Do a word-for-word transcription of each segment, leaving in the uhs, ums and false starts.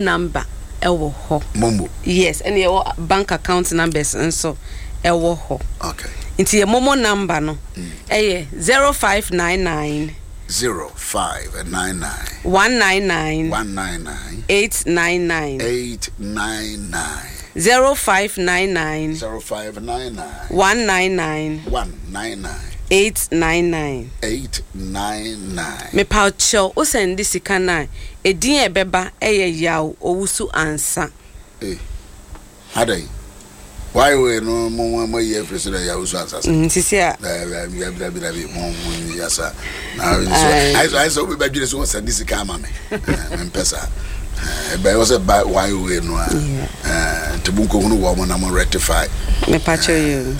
Number ɛwɔ hɔ. Momo. Yes, ɛna yɛwɔ bank account numbers nso ɛwɔ hɔ. Okay. Nti yɛ Momo number no ɛyɛ zero five nine nine. Zero five nine nine. One nine nine. One nine nine. Eight nine nine. Eight nine nine. Zero five nine nine. Zero five nine nine. One nine nine. One nine nine. Eight nine nine. Eight nine nine. Mepaw kyɛw, wo sɛnde sika no a, edin a ɛbɛba yɛ Yaw Owusu Ansah. Ei, adɛn? Why wei no mo mo mo ayi afiri so dɛ Yaw Owusu Ansah sɛ? Mm, sisi a. Dabi dabi dabi dabi mo mo nyi asa. Na nso ayɛ sɛ ayɛ sɛ obi bɛdwene sɛ wɔsɛnde sika ama me. Mempɛ saa. Ɛbɛyɛ wɔ sɛ ba why wei no a. Nti mo nkɔhunu wɔn mo na mo rectify. Mepakyɛ yi o.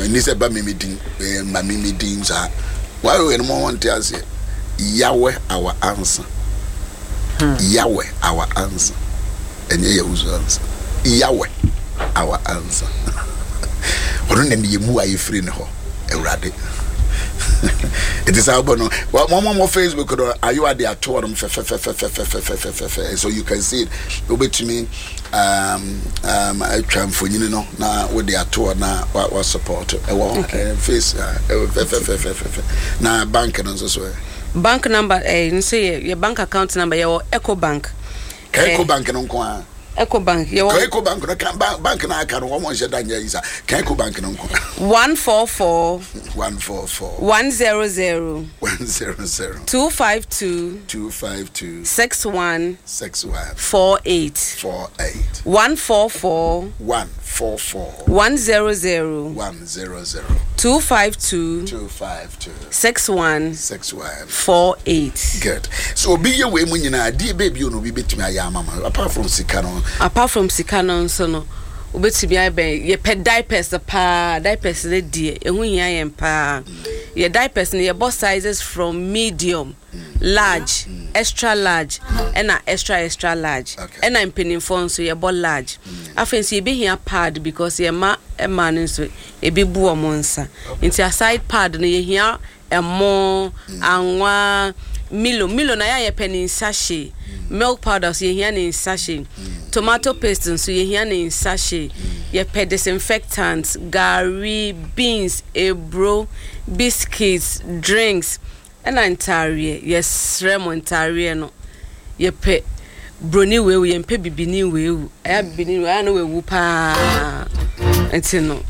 Ɛni sɛ ba mi mi din, ma mi mi din saa. Why wei no mo wɔn te aseɛ. Yahweh our answer. Hmm. Yahweh our answer. Ɛnyɛ Yahuzu answer. Yahweh our answer. Ɔno na ne yɛ mu a yɛfiri ne hɔ. Awurade. Ɛti saa wobɔ no wɔn mo Facebook no ayewa de ato hɔ nom fɛfɛfɛfɛfɛfɛfɛfɛ, so you can see it. Wobɛtumi um, um, atwa mfonyini no na wode ato hɔ na wa, wa support ɛwɔ hɔ face ɛwɔ fɛfɛfɛfɛfɛ. Na bank no nso so ɛ? Bank number eh, nso yɛ yɛ bank account number, yɛwɔ Ecobank. Ka Ecobank no nko ara. Ecobank yɛwɔ. Ka Ecobank no ka bank bank na aka no wɔn nhyɛ da nyɛ yi sa. Ka Ecobank no nko. One four four. One four four. One zero zero. One zero zero. Two five two. Two five two. Six one. Six one. Four eight. Four eight. One four four. One four four. One zero zero. One zero zero. Two five two. Two five two. Six one. Six one. Four eight. Good. So obi yɛ wei mu nyinaa, adeɛ bɛɛ bi o na obi bɛtumi ayɛ ama ma apart from sika no? Apart from sika no nso no, wobɛtumi ayɛ, yɛpɛ diapers paa. Diapers no deɛ, ɛho hia yɛn paa. Yɛ diapers no, yɛbɔ sizes from medium, large, extra large ɛna extra extra large. Okay. Ɛna mpanimfoɔ nso yɛbɔ large. Afei nso yɛbɛhia pad because yɛma mmaa no nso ebi bu wɔn nsa, nti aside pad no, yɛhia ɛmo, anwa, Milo. Milo na yɛ a yɛpɛ ne sachet. Milk powder nso yɛhia ne sachet. Tomato paste nso yɛhia ne sachet. Yɛpɛ disinfectant, gari, beans, eburo, biscuits, drinks ɛna ntaareɛ. Yɛsrɛ mo, ntaareɛ no, yɛpɛ broni weewu, yɛmpɛ bibini weewu. Ɛyɛ bibini weewu ɛyɛ no weewu paa, nti no